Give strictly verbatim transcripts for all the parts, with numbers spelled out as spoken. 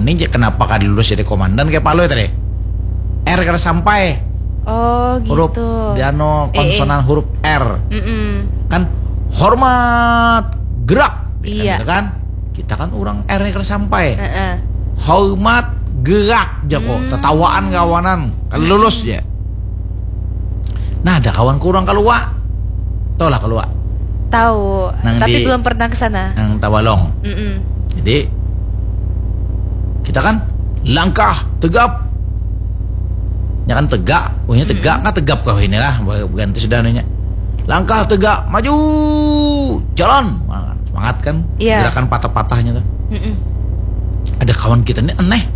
Ini je kenapa kada lulus jadi komandan kayak Palui tadi? R kada sampai. Oh gitu. Huruf di anu Eh, eh. Konsonan huruf R. Mm-mm. Kan hormat gerak. Iya. Kan, gitu kan? Kita kan orang R-nya kada sampai. Heeh. Hormat gerak jago. Hmm. Tetawaan kawanan. Kan lulus ya. Nah, ada kawan kurang keluar. Tahu lah keluar. Tahu, Nang tapi di- belum pernah ke sana. Yang Tawalong. Mm-mm. Jadi kita kan langkah tegap. Ya kan tegak, wahnya tegak kan tegap kau inilah ganti sudah anunya. Langkah tegak, maju, jalan. Wah, semangat kan? Iya. Gerakan patah-patahnya tuh. Mm-mm. Ada kawan kita ini aneh.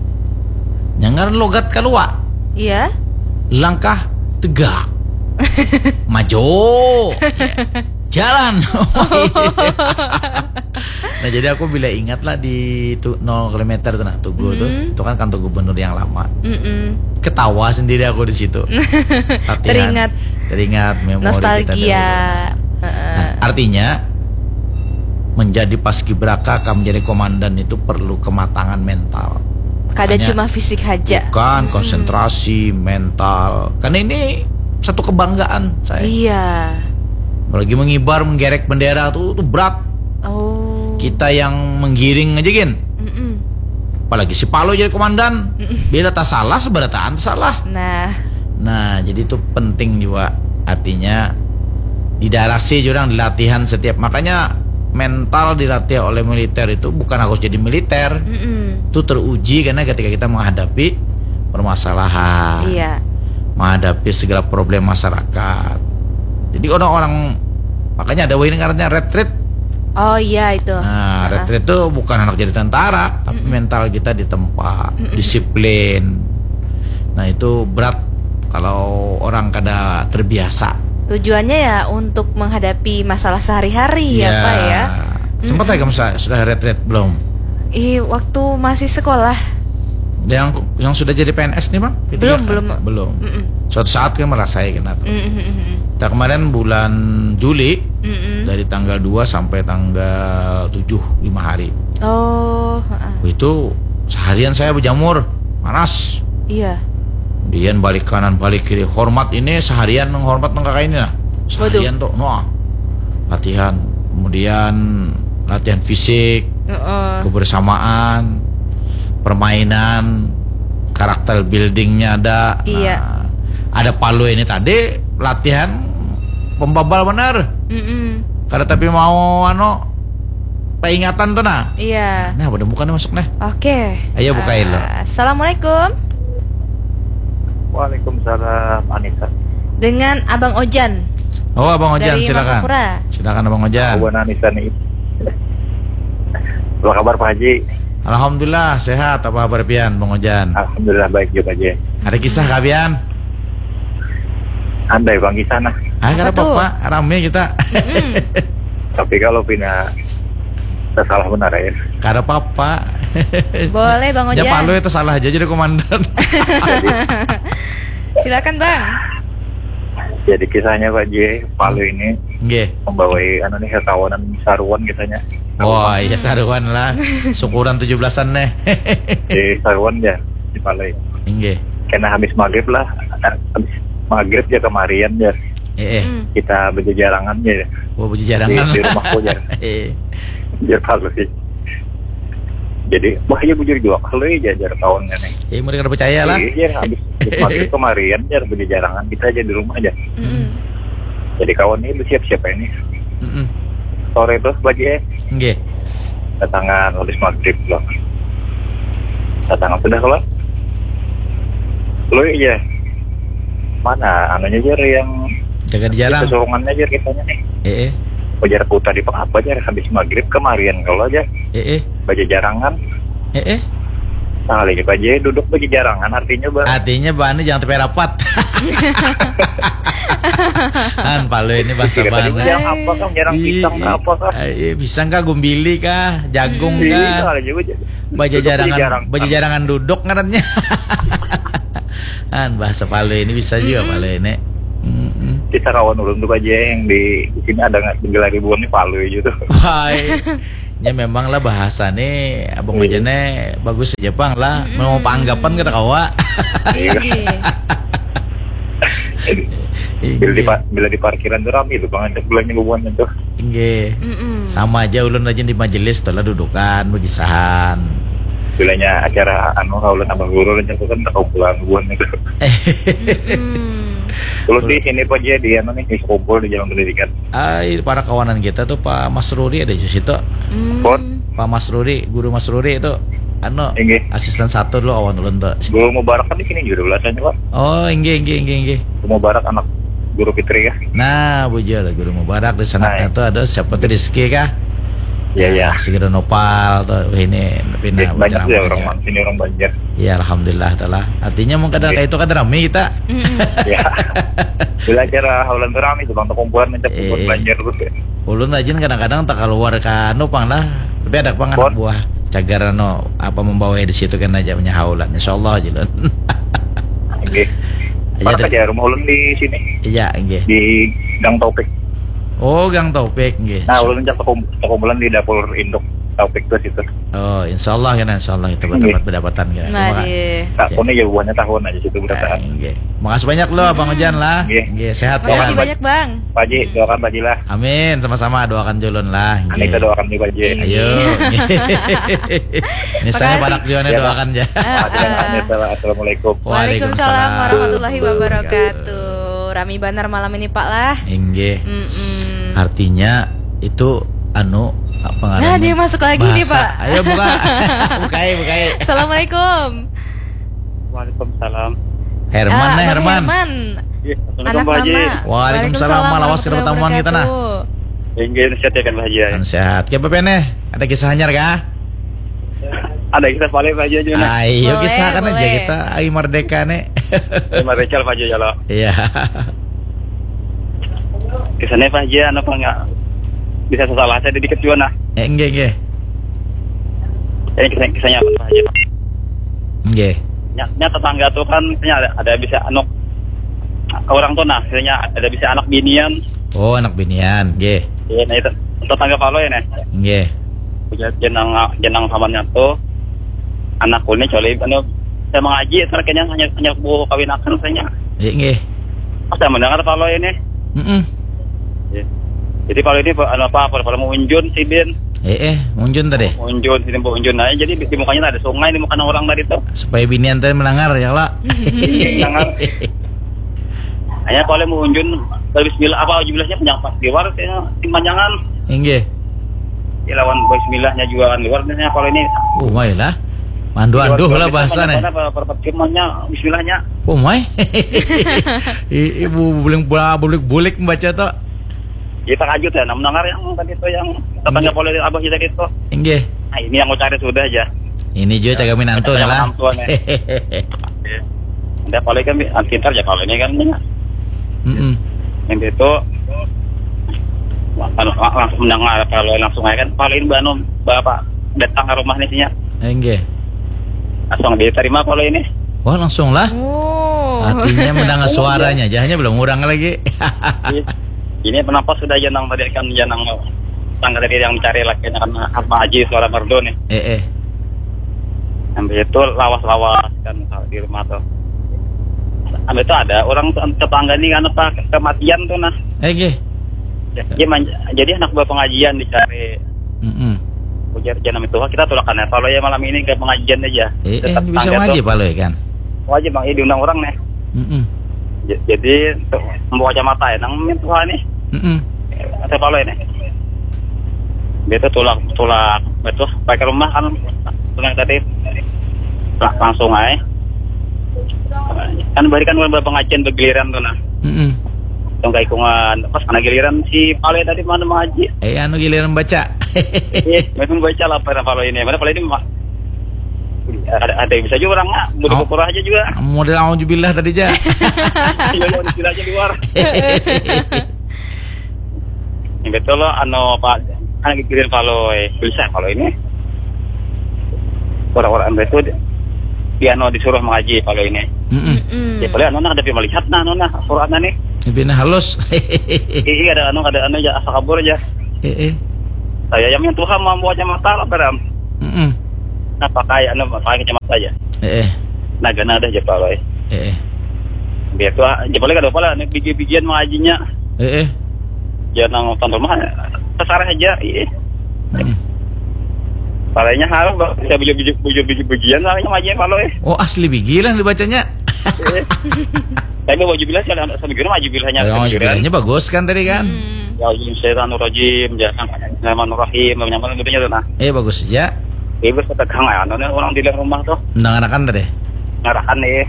Jangan logat keluar. Iya. Langkah tegak. Maju. Ya. Jalan. Nah, jadi aku bila ingat lah di tu nol kilometer tuh nah, Tugu tuh. Hmm. Itu kan kantor gubernur yang lama. Mm-mm. Ketawa sendiri aku di situ. Latihan. Teringat. Teringat memori kita Nostalgia. dulu. Heeh. Nah, artinya menjadi paskibraka, menjadi komandan itu perlu kematangan mental. Kada Makanya cuma fisik aja. Bukan, konsentrasi, mental. Karena ini satu kebanggaan saya. Iya. Apalagi mengibar, menggerek bendera tuh, tuh berat. Oh. Kita yang menggiring aja gin. Mm-mm. Apalagi si Palo jadi komandan. Bila tak salah, seberataan tak salah. Nah. Nah, jadi itu penting juga. Artinya didarasi juga orang di latihan setiap. Makanya mental dilatih oleh militer itu bukan harus jadi militer. Mm-mm. Itu teruji karena ketika kita menghadapi permasalahan, Iya. Menghadapi segala problem masyarakat. Jadi orang-orang, makanya ada wahini ngarannya retreat. Oh iya itu. Nah, retreat itu bukan anak jadi tentara, tapi mental kita ditempa, disiplin. Nah, itu berat kalau orang kada terbiasa. Tujuannya ya untuk menghadapi masalah sehari-hari ya, Pak ya. Sempat lagi masa sudah retreat belum? Ih, waktu masih sekolah. Yang yang sudah jadi P N S nih, Bang? P tiga Belum, K? Belum. Belum. Mm-mm. Suatu saat kan merasai kena tuh. Mm-mm. Kita kemarin bulan Juli Mm-mm. dari tanggal dua sampai tanggal tujuh, lima hari. Oh, heeh. Itu seharian saya berjamur, panas. Iya. Kemudian balik kanan, balik kiri. Hormat ini seharian menghormat nang kakak ini lah. Seharian tuh, no. Latihan. Kemudian latihan fisik, Heeh. kebersamaan, permainan, karakter buildingnya ada. Iya. Nah, ada Palu ini tadi latihan pembabal benar. Mm-mm. Kada tapi mau anu peringatan tuh nah. Iya. Nah, pada bukan masuk nah. Oke. Ayo bukain lo. Ah, Assalamualaikum. Waalaikumsalam, Anissa. Dengan Abang Ojan. Oh, Abang Ojan, Dari silakan. Martapura. Silakan, Abang Ojan. Abang Anissa nih. Apa kabar, Pak Haji? Alhamdulillah sehat. Apa kabar pian, Bang Ojan? Alhamdulillah baik juga aja. Ada kisah kah pian? Andai bang kisah nah. Ah, kada Apa tuh? Apa-apa, rame kita. Mm-mm. Tapi kalau pina salah benar ya. Kada apa-apa. Boleh Bang Ya Ojan. Palu itu salah aja jadi komandan. Silakan Bang. Jadi kisahnya Pak J, Palu ini Nggih. membawai anu nih kawanan saruan kisahnya. Wah, iya saruan lah. Syukuran tujuh belasan nih. Di saruan ya di Palu. Nggih. Kena habis maghrib lah. Habis maghrib ya kemarian ya. Eh, eh. Hmm. Kita berjejarangan ya. Wah, Di, berjejarangan. Di rumahku ya. Eh. Biar Palu sih. Jadi, wah iya bujur juga kalau ya jajar tahunnya nih. Ya, mereka udah percaya lah. Iya, habis habis maghrib kemarian ya berjejarangan kita aja di rumah aja. Mm-mm. Jadi kawan ini siap-siap ini. Mm-mm. Sore tuh pagi eh Nggih. Datangan habis maghrib loh. Datangan sudah keluar. Lo iya. Mana anunya aja yang Jaga di jarang. Kesurungannya aja kitanya nih. Eh, eh. Ujar ku tadi apa aja habis maghrib kemarian kalau aja Eh, eh. Bajajarangan. Eh, eh. Nah, lagi aja duduk bajajarangan artinya bah. Artinya bahannya jangan tepi rapat. Kan Palu ini bahasa Kira tadi bahannya. jarang apa kah? Jarang Ih, pisang kah apa kah? Iya, pisang kah, gumbili kah, jagung Iya, kah? ada juga. Bajajarangan, Duduk di jarang. Bajajarangan duduk ngarannya. Kan bahasa Palu ini bisa juga Palu ini. Mm-mm. Kita kawan ulun tuh aja yang di, di sini ada nggak gila ribuan nih Palu aja tuh. Wah, Nya memang lah bahasa nih, Abang Iya. Ojan nih bagus aja pang lah. Mm-mm. Mau panggapan kada kawa. Inggih. Bila di, pa- bila di parkiran tuh rame tuh bang, ada belanja bubuhan itu. Inggih. Mm-mm. Sama aja ulun aja di majelis tuh lah dudukan, begisahan. Bilanya acara anu, kaulan abah guru, rencana kan tak kumpulan bubuhan itu. Mm-mm. Ulun di sini pun aja di anu nih, di kumpul di Jalan Pendidikan. Ai, para kawanan kita tuh, Pak Masruri ada di situ. Hmm. Pak Masruri, Guru Masruri itu, anu, Inggih. Asisten satu dulu awan ulun tuh. Guru Mubarak kan di sini juga belasannya, Pak. Oh, inggih, inggih, inggih, inggih. Guru Mubarak anak Guru Fitri kah? Nah, bujur, Guru Mubarak di sana. Nah, tuh ada siapa tuh, Rizky kah? Iya, iya. Si Guru Nopal tuh, wah, ini pindah. Iya, banyak sih orang sini, orang Banjar. Iya, alhamdulillah tuh lah. Artinya mungkin kadang kayak itu kan rame kita. Mm-mm. Ya. Bila acara haulan tuh rame tuh, bang, kumpulan mencak kumpulan Banjar tuh. Ulun rajin kadang-kadang tak keluar ke anu pang lah. Tapi ada pang anak buah cagar anu apa membawa di situ kan aja punya haulan. Insyaallah aja lun. Oke. Aja. Mana saja rumah ulun di sini? Iya, nggih. Di Gang Taufik. Oh, Gang Taufik, nggih. Nah, ulun cak kumpulan di dapur induk Taufik tuh situ. Oh, insyaallah kan, insyaallah kita bertempat berdapatan kan. Nggih. Tak punya ya buahnya tahun aja situ berdapatan. Nggih. Makasih banyak loh Bang Ojan lah. Nggih. Nggih, sehat. Makasih banyak, Bang. Pak Haji, doakan Pak Haji lah. Amin, sama-sama doakan julun lah. Anita doakan nih Pak Haji. Ayo. Ini saya parak juga nih doakan ya. Assalamualaikum. Waalaikumsalam warahmatullahi wabarakatuh. Rami banar malam ini Pak lah. Inggih. Mm-mm. Artinya itu anu apa ngarannya? Nah, dia masuk lagi nih, Pak. Ayo buka. Bukai, bukai. Assalamualaikum. Waalaikumsalam. Herman, ah, Herman. Herman. Iya, assalamualaikum, Pak Haji. Waalaikumsalam, lawas kita pertemuan kita nah. Inggih, sehat ya kan Pak Haji ya? Kan sehat. Kiapa peneh? Ada kisah anyar kah? Ada kisah paling Pak Haji aja nah. Ayo kisahkan aja kita. Ai merdeka nih. Ai merdeka Pak Haji ya lo. Iya. Kisahnya Pak Haji anu apa enggak? Bisa salah saya dikit juga nah. Eh, enggak, enggak. Ini kisah kisahnya apa Pak Haji? Enggak. Nya, nya tetangga tuh kan nya ada, ada bisa anu orang tuh nah, misalnya ada bisa anak binian. Oh, anak binian, nggih. Iya, nah itu tetangga Palo ya nih. Nggih. Jenang jenang samannya tuh anak ini coli anu saya mengaji terakhirnya hanya hanya bu kawin akan saya. Iya, nggih. Pas saya mendengar Palo ini. Mm-mm. Iya. Jadi Palo ini anu apa apa Palo mau unjun sidin. Eh, eh, unjun tadi. Unjun sidin mau unjun aja jadi di mukanya ada sungai di muka orang tadi tuh. Supaya binian tadi mendengar ya lah. Mendengar. Hanya kalau mau unjun kalau bismillah apa bismillahnya panjang pas di luar saya panjangan. Inggih. Ya lawan bismillahnya juga kan luar nih kalau ini. Oh, mai lah. Mandu-andu lah bahasa nih. Apa perpat firmannya bismillahnya. Oh, mai. Ibu buling bulik-bulik membaca tuh. Kita kajut ya, mendengar yang tadi itu yang tetangga polisi abah kita gitu. Inggih. Nah, ini yang mau cari sudah aja. Ini juga cagamin antu nih lah. Udah kalau kan pintar ya kalau ini kan. Mm-mm. Yang itu langsung mendengar kalau langsung aja kan paling banu bapak datang ke rumah nih sinya. Enggak. Langsung diterima kalau ini. Wah langsung lah. Oh. Artinya mendengar suaranya, jahanya belum orang lagi. Ini kenapa sudah jenang tadi kan jenang tangga tadi yang mencari laki karena apa aja suara merdu nih. Eh eh. Sampai itu lawas-lawas kan di rumah tuh. Sampai itu ada orang tetangga nih kan apa kematian tuh nah. Eh gih. Jadi, jadi anak buah pengajian dicari. Mm-mm. Ujar jangan itu kita tulakan ya kalau ya malam ini ke pengajian aja. Eh, eh bisa ngaji Pak Loi kan? Wajib bang, ini diundang orang nih. Mm-mm. Jadi untuk membawa kacamata ya, nang Tuhan nih. Mm-mm. Saya Pak Loi nih. Dia tuh tulak tulak itu baik ke rumah kan tulak tadi langsung aja kan barikan kan pengajian bergiliran tuh nah. Mm-mm. Yang kaikungan pas kena giliran si Pale tadi mana mengaji. Eh anu giliran baca. Iya, memang baca lah pada Pale ini. Mana Pale ini ada, ada yang bisa juga orang ah, mau dipukul aja juga. Model auzubillah tadi aja. Iya, auzubillah aja luar. Yang betul lo anu Pak kan giliran Pale bisa kalau ini. Orang-orang itu dia anu disuruh mengaji Pale ini. Mm-mm. Ya Pale anu nak ada melihat nah anu nah Quran nih. Lebih halus. Iya ada anu ada anu ya asal kabur aja. Eh eh. Saya yang Tuhan mambawa kacamata lah, Bram. Mm-mm. Nah, pakai, anu, pakai kacamata aja. Eh, eh. Nah, gana ada aja, Pak, Roy. Eh, eh. Biar tuh, ah, aja boleh kada apa lah, nih, bigi-bigian mengajinya. Eh, eh. Ya, nang nonton rumah, terserah aja, iya. Mm-mm. Palanya harus, Bang, bisa bujur-bujur, bujur-bujur-bujian, palanya ngajinya, Pak, Roy. Oh, asli bigi lah dibacanya. Eh. Tapi baju bilah, kalau sambil gini, baju bilahnya, oh, sambil gini. Bilahnya bagus kan tadi kan? Hmm. Ya, auzubillahi minasyaitonirrajim, ya, Bismillahirrahmanirrahim, yang mana gitu ya, nah. Eh, bagus aja. Ibu setegang, anu nih, orang di dalam rumah tuh. Nang ngarakan tadi? Ngarakan nih.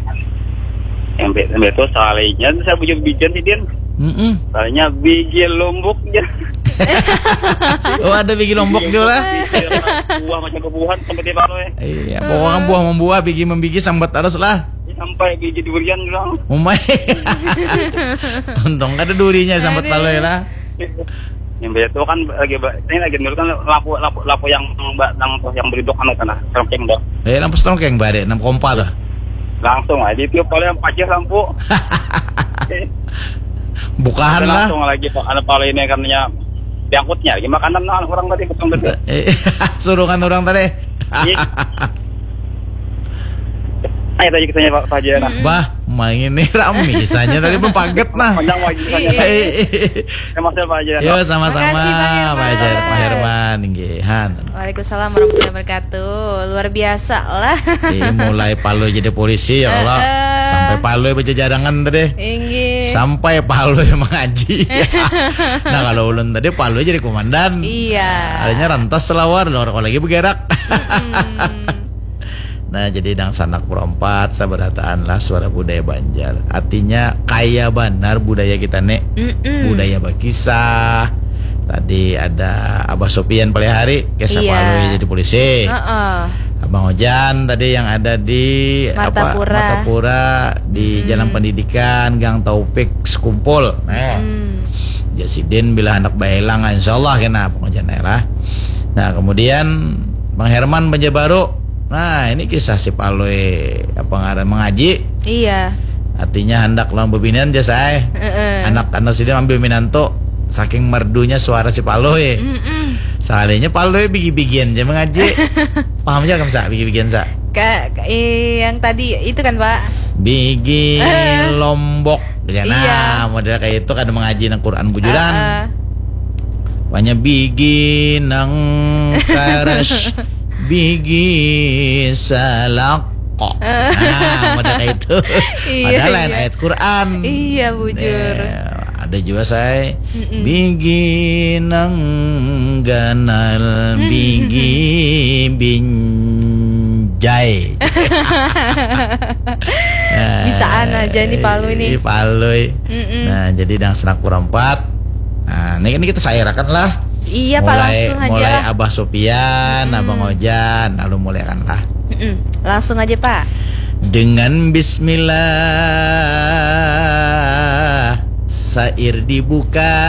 Yang be-, yang betul sekalinya, saya bujur bijian sih, Din. Mm-mm. Soalnya bigi lombok ya. Oh, ada bigi lombok juga lah. Bigi buah macam bubuhan sampai di Palu ya. Iya, pokoknya buah membuah, bigi membigi, sambat terus lah. Sampai biji durian bilang. Umai. Untung kada durinya sambat. Aduh. Palui lah. Yang beda tuh kan lagi ba-, ini lagi dulu kan lampu, lampu, lampu yang ba-, yang, yang beriduk anu sana, serengkeng tuh. Eh, lampu serengkeng bare, enam kompa tuh. Langsung aja tiup, paling yang pacah lampu. Bukahan lah. Langsung lagi, Pak, ada pala ini kan ya, diangkutnya lagi makanan orang tadi, betul, betul. Eh, surungan orang tadi. Iya. Ayo tadi kisahnya Pak, Pak Haji, nah. Mm-mm. Bah, main ini rame kisahnya tadi pun paget, nah. Panjang lagi kisahnya. Iya. Eh, eh, eh. Ya, Mas, ya, Pak Haji, ya. Yo, sama-sama, makasih, Bang Herman. Pak Haji, Pak Herman, nggih, han. Waalaikumsalam warahmatullahi wabarakatuh. Luar biasa lah. Eh, mulai Palui jadi polisi, ya Allah. Heeh. Sampai Palui berjejarangan tadi. Inggih. Sampai Palui mengaji. Nah, kalau ulun tadi Palui jadi komandan. Iya. Adanya rantas selawar, lor, kalau lagi bergerak. Mm-mm. Nah, jadi nang sanak perompat, sabarataan lah suara budaya Banjar. Artinya, kaya banar budaya kita, Nek. Mm-mm. Budaya bakisah. Tadi ada Abah Sopian Palihari, kisah, iya, Palui jadi polisi. Heeh. Abang Ojan tadi yang ada di, apa, Martapura. Martapura, di, mm-mm, Jalan Pendidikan, Gang Taufik, Sekumpul. Nah. Mm-mm. Jasidin bila hendak baelang, insya Allah kena Abang Ojan lah. Nah, kemudian Bang Herman Banjarbaru. Nah, ini kisah si Palui, apa ngaran, mengaji. Iya. Artinya handak lawan bebinian, jar saya. Heeh. Anak, anak sidin ambil minantu, saking merdunya suara si Palui. Mm-mm. Sekalinya Palui bigi-bigian aja mengaji. Paham aja kan, Sa? Bigi-bigian, Sa? Ka-, ka-, eh, yang tadi itu kan, Pak? Bigi, heeh, lombok. Ya, iya, nah, model kayak itu kan mengaji nang Quran bujuran. Heeh. Panya bigi nang karas, bigi salak kok. Nah, model kayak itu. Iya, padahal lain, iya, ayat Quran. Iya, bujur. Nah, ada juga, saya, mm-mm, bigi nang ganal, mm-mm, bigi binjai. Nah, bisaan aja nih Palui nih. Palui. Mm-mm. Nah, jadi nang sanak perompat. Nah, ini, ini kita sairakan lah. Iya, Pak, mulai, langsung aja mulai lah. Abah Sopian, mm-mm, Abang Ojan, lalu mulai kan lah. Mm-mm. Langsung aja, Pak. Dengan bismillah, sair dibuka.